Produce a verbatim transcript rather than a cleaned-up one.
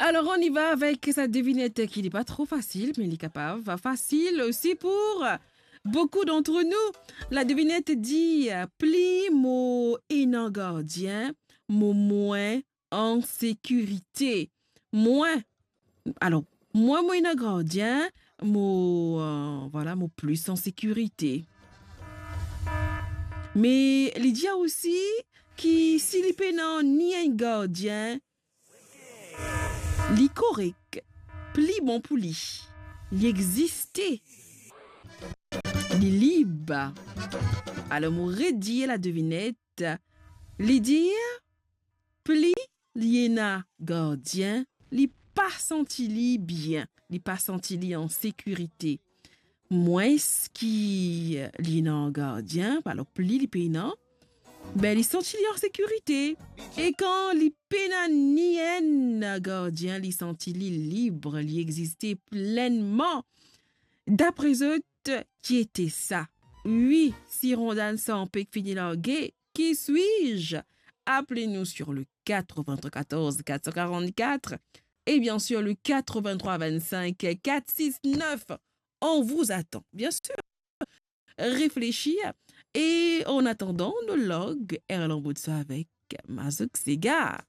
Alors, on y va avec sa devinette qui n'est pas trop facile, mais li kapav fasil osi pour beaucoup d'entre nous. La devinette dit, pli mo ena gardien, mo mwin an sekirite. Mwin, alor, mwin, mo ena gardien, mo, euh, vwala, mo plis an sekirite. Me li dir osi ki si li pena ni enn gardien, li korek, pli bon pou li. Li existe. Li lib. Alor, mo redir la devinette. Li dir, pli li ena gardien, li pa santi li bien, li pa santi li an sekirite. Mwins ki li ena gardien, alor pli li pena, be, li santi li an sekirite. E kan li pena ni enn gardien, li santi li lib, li existe plenman. Dapre zot, ki ete sa? Wi, si Rondan Sampek fini large, qui suis-je? Appelez-nous sur le quatre-vingt-quatorze quatre cent quarante-quatre et bien sûr le quatre-vingt-trois vingt-cinq quatre six neuf. On vous attend, bien sûr. Réfléchir. Et en attendant, nou larg Erlan Boutsa avek Mazouk Sega.